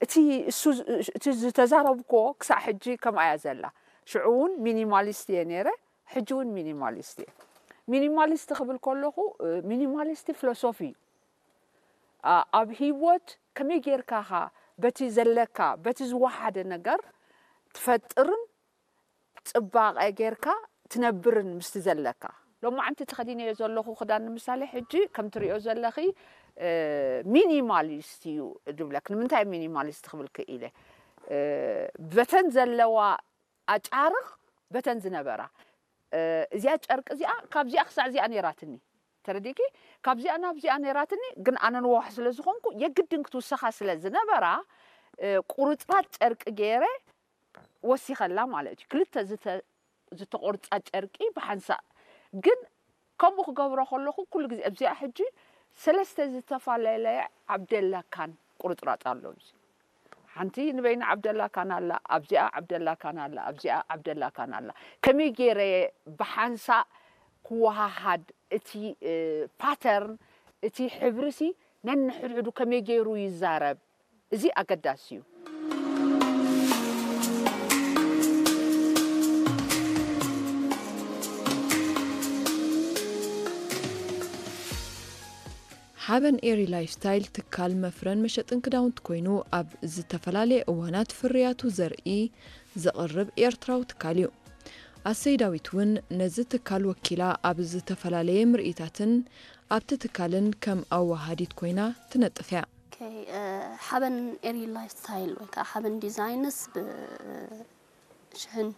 እቲ እሱ እቲ ዝተዛረብክዎ ክሳዕ ሕጂ ከምኣ እያ ዘላ። ሽዑ እውን ሚኒማሊስት እየ ነይረ፣ ሕጂ እውን ሚኒማሊስት እየ። ሚኒማሊስት ክብል ከለኹ ሚኒማሊስት ፊሎሶፊ እዩ። ኣብ ህይወት ከመይ ጌርካ ኻ በቲ ዘለካ በቲ ዝወሓደ ነገር ትፈጥርን ጽባቐ ጌርካ ትነብርን ምስቲ ዘለካ። ሎማዓንቲ ተኸዲነዮ ዘለኹ ክዳን ንምሳሌ ሕጂ ከም ትሪኦ ዘለኺ ሚኒማሊስት እዩ ዝብለክ። ንምንታይ ሚኒማሊስት ክብል ክኢለ? በተን ዘለዋ ኣጫርቕ በተን ዝነበራ እዚኣ ጨርቂ እዚኣ ካብዚኣ ክሳዕ እዚኣ ነይራትኒ። ተረዲኪ? ካብዚኣ ናብዚኣ ነይራትኒ፣ ግን ኣነ ንዋሕ ስለ ዝኾንኩ የግድን ክትውሰኻ ስለ ዝነበራ ቁርፅራፅ ጨርቂ ገይረ ወሲኸላ ማለት እዩ። ክልተ ዝተቆርፃ ጨርቂ ብሓንሳእ። ግን ከምኡ ክገብሮ ከለኹ ኩሉ ግዜ ኣብዚኣ ሕጂ ሰለስተ ዝተፈላለየ ዓብደላ ካን ቁርፅራፅ ኣሎ። እዚ ሓንቲ ንበይና ዓብደላ ካን ኣላ፣ ኣብዚኣ ዓብደላ ካን ኣላ፣ ኣብዚኣ ዓብደላ ካን ኣላ። ከመይ ገይረ ብሓንሳእ ክወሃሃድ እቲ ፓተርን እቲ ሕብርሲ ነንሕድሕዱ ከመይ ገይሩ ይዛረብ? እዚ ኣገዳሲ እዩ። ሓበን ኤሪ ላይፍስታይል ትካል መፍረን መሸጥን ክዳውንቲ ኮይኑ ኣብ ዝተፈላለየ እዋናት ፍርያቱ ዘርኢ ዘቕርብ ኤርትራዊ ትካል እዩ። ኣሰይ ዳዊት እውን ነዚ ትካል ወኪላ ኣብ ዝተፈላለየ ምርኢታትን ኣብቲ ትካልን ከም ኣወሃሃዲት ኮይና ትነጥፍ እያ። ሓበን ኤሪ ላይፍስታይል ወይ ከዓ ሓበን ዲዛይንስ ብ ሽሕን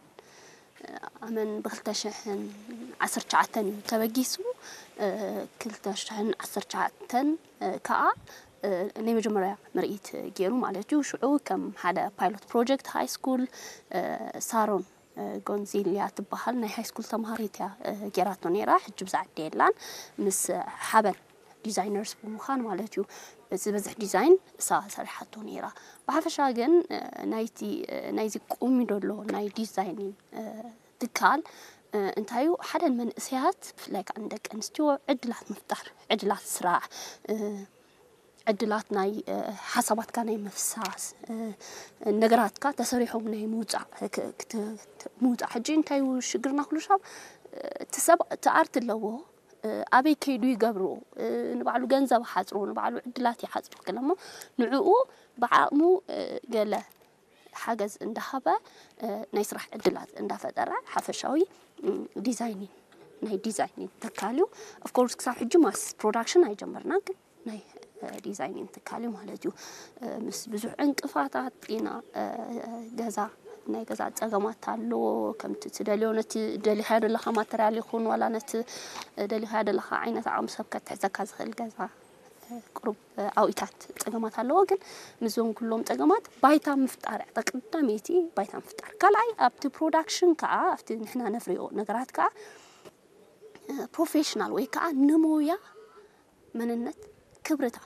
ኣመን ብክልተ ሽሕን ዓሰርተ ትሽዓተን እዩ ተበጊሱ። ክልተ ሽሕን ዓሰርተ ትሽዓተን ከዓ ናይ መጀመርያ ምርኢት ገይሩ ማለት እዩ። ሽዑ ከም ሓደ ፓይሎት ፕሮጀክት ሃይ ስኩል ሳሮን ጎንዚልያ ትበሃል ናይ ሃይ ስኩል ተምሃሪት እያ ገይራቶ ነይራ። ሕጂ ብዛ ዓዲ የላን። ምስ ሓበን ዲዛይነርስ ብምዃን ማለት እዩ። ዝበዝሕ ዲዛይን እሳ ሰሪሓቶ ነይራ። ብሓፈሻ ግን ናይቲ ናይዚ ቁሚ ደሎ ናይ ዲዛይን ትካል እንታይ እዩ ሓደ መንእሰያት ብፍላይ ከዓ ንደቂ ኣንስትዮ ዕድላት ምፍጣር፣ ዕድላት ስራሕ፣ ዕድላት ናይ ሓሳባትካ ናይ ምፍሳስ፣ ነገራትካ ተሰሪሖም ናይ ምውፃእ ምውፃእ። ሕጂ እንታይ እዩ ሽግርና? ኩሉ ሻብ እቲ ሰብ እቲ ኣርት ኣለዎ፣ ኣበይ ከይዱ ይገብርዎ፣ ንባዕሉ ገንዘብ ይሓፅሮ፣ ንባዕሉ ዕድላት ይሓፅሮ ገለ እሞ ንዕኡ ብዓቕሙ ገለ ሓገዝ እንዳሃበ ናይ ስራሕ ዕድላት እንዳፈጠረ ሓፈሻዊ ዲዛይኒን ናይ ዲዛይኒን ትካል እዩ። ኦፍኮርስ ክሳብ ሕጂ ማስ ፕሮዳክሽን ኣይጀመርናን፣ ግን ናይ ዲዛይኒን ትካል እዩ ማለት እዩ። ምስ ብዙሕ ዕንቅፋታት ኢና ገዛ ናይ ገዛ ፀገማት ኣለዎ። ከምቲ ትደልዮ ነቲ ደሊኻዮ ዘለኻ ማተርያል ይኹን ዋላ ነቲ ደሊኻዮ ዘለኻ ዓይነት ዓቕሚ ሰብ ከትሕዘካ ዝኽእል ገዛ ቁሩብ ዓውኢታት ፀገማት ኣለዎ። ግን ምስዞም ኩሎም ፀገማት ባይታ ምፍጣር እያ ቀዳመይቲ ባይታ ምፍጣር። ካልኣይ ኣብቲ ፕሮዳክሽን ከዓ ኣብቲ ንሕና ነፍርዮ ነገራት ከዓ ፕሮፌሽናል ወይ ከዓ ንሞያ መንነት ክብርታት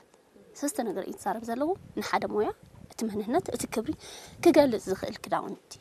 ሰስተ ነገር እዩ ትዛረብ ዘለዎ ንሓደ ሞያ እቲ መንነት እቲ ክብሪ ክገልፅ ዝኽእል ክዳውንቲ